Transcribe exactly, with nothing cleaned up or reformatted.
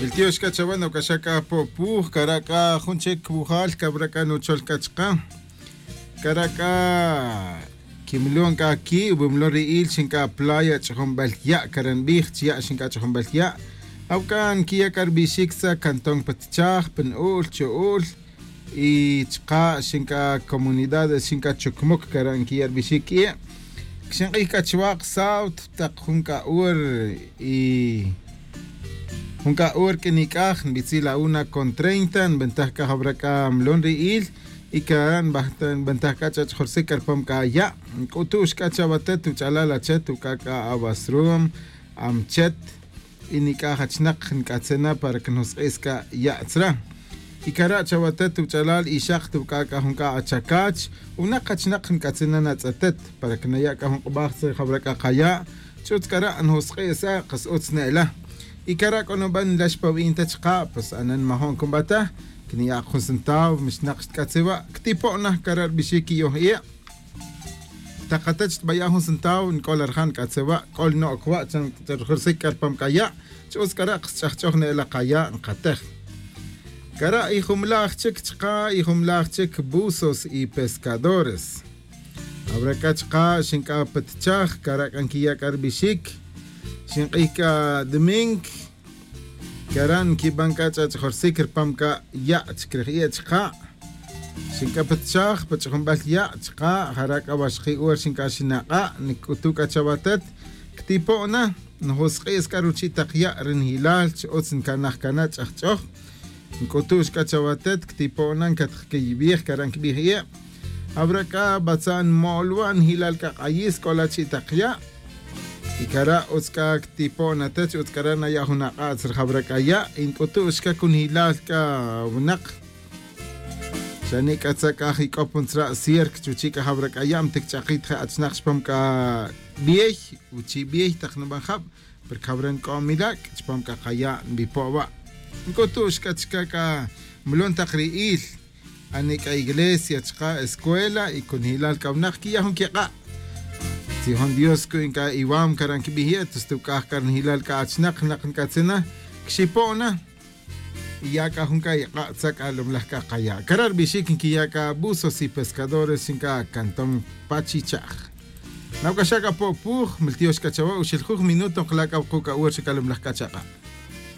Miltiox c'a chawe noc'axa c'a po'puj cara' c'a jun chic wujal cabra c'a nuchol c'a chaka. Cara' c'a quimilon c'a qui' wimilon ri il xin c'a playa ch'ajunbel ya' cara' nbij chi ya' xin c'a ch'ajunbel ya'. Awc'a nquiya' c'a ri bixic sa cantón pa tichaj pa nu'ul chu'ul. Y chaka' xin c'a comunidades xin c'a chucmuc cara' nquiya' ri bixic y xink'ij c'a chuwa' ksaut tak jun c'a hor y jun c'a hor q'uinic'aj nbitzil a una con treinta nbentaj c'a jawra c'a mlon ri il. Y cara' nbentaj c'a ch'ach'jorsic c'a ri pam c'a ya' nc'utu'x c'a chawatet wuch'alal achet wuc'a c'a awasrum amchet. Y nic'aj achnak nc'atzin na para que njosk'is c'a ya' tzra. Y cara' chawatet wuch'alal y xak wuc'a c'a jun c'a achacach. Winak achnak nc'atzin na natz'etet para que naya' c'a jun k'ubaj tzra jawra c'a kaya'. Ch'utz cara' njosk'is a kas utz ne'ela. Y cara' c'o nuben nlex pa wi'in ta chaka' pues anen majo'n cunba ta. Quiniya' jun centavo mixnak xtc'atzi wa' ctipo'na cara' ri bixic quiyoj i'. Takate chi tbaya' jun centavo nc'ol arjan nc'atze wa' c'ol no'c wa' chan rujursic c'a ri pam c'a ya'. Ch'utz c'a re' ksch'ajch'oj ne'ela kaya' nkatej. C'a re' ijumlaj chic chaka' ijumlaj chic buzos y pescadores. Awra c'a chaka' xinc'a pa tichaj c'a re' c'a nquiya' c'a ribixic. Xink'ij c'a domingo. C'a re' nquiban c'a ch'ach'jorsic ri pam c'a ya' chic ri jie' chaka'. Xinc'a pa tichaj pa ch'ajunbel ya' chaka' jara' c'a waxji' hora xinc'a xinak'a' nic'utu' c'a chawatet. Ctipo'na njosk'is c'a ruchi' tak ya' ri njilal chi utz ncanaj cana' ch'ajch'oj. Nc'utu'x c'a chawatet ctipo'na ncatjquiybij c'a re' nquibij ie'. Jawra c'a batza' nmo'ol wa' njilal c'a k'ayis c'o la chi' tak ya'. Y c'a re' utz c'a ctipo'na te chi utz c'a re' naya' jun ak'atz ri jawra c'a ya' y nc'utu'x c'a cunjilal c'a winak. Xa nic'atza' c'a jic'op jun tzra' cierc chuchi' c'a jawra c'a ya' mtic ch'akit je' achnak chupam c'a biey. Uchi' biey tak nuban jab. Porque jawra nc'o milac' chupam c'a kaya' nbipo' wa'. Nc'utu'x c'a chica c'a mulon tak ri il. Ani c'a iglesia chaka' escuela y cunjilal c'a winak quiya' jun quik'a'. Tzijon dios cuy c'a iwam cara' nquibij ye' tus tuc'aj c'a rinjilal c'a achnak nak nc'atzin na. Quixipo' na. Y ya c'a jun c'a ik'a' tza c'a lomlaj c'a kaya' cara' ribixic nquiya' c'a buzos y pescadores xin c'a cantón pachichaj. Nawc'axa' c'a po'puj miltiox c'a chawe uxiljuj minuto nkala' c'a wuku' c'a hora xa c'a lomlaj c'a chak'a'.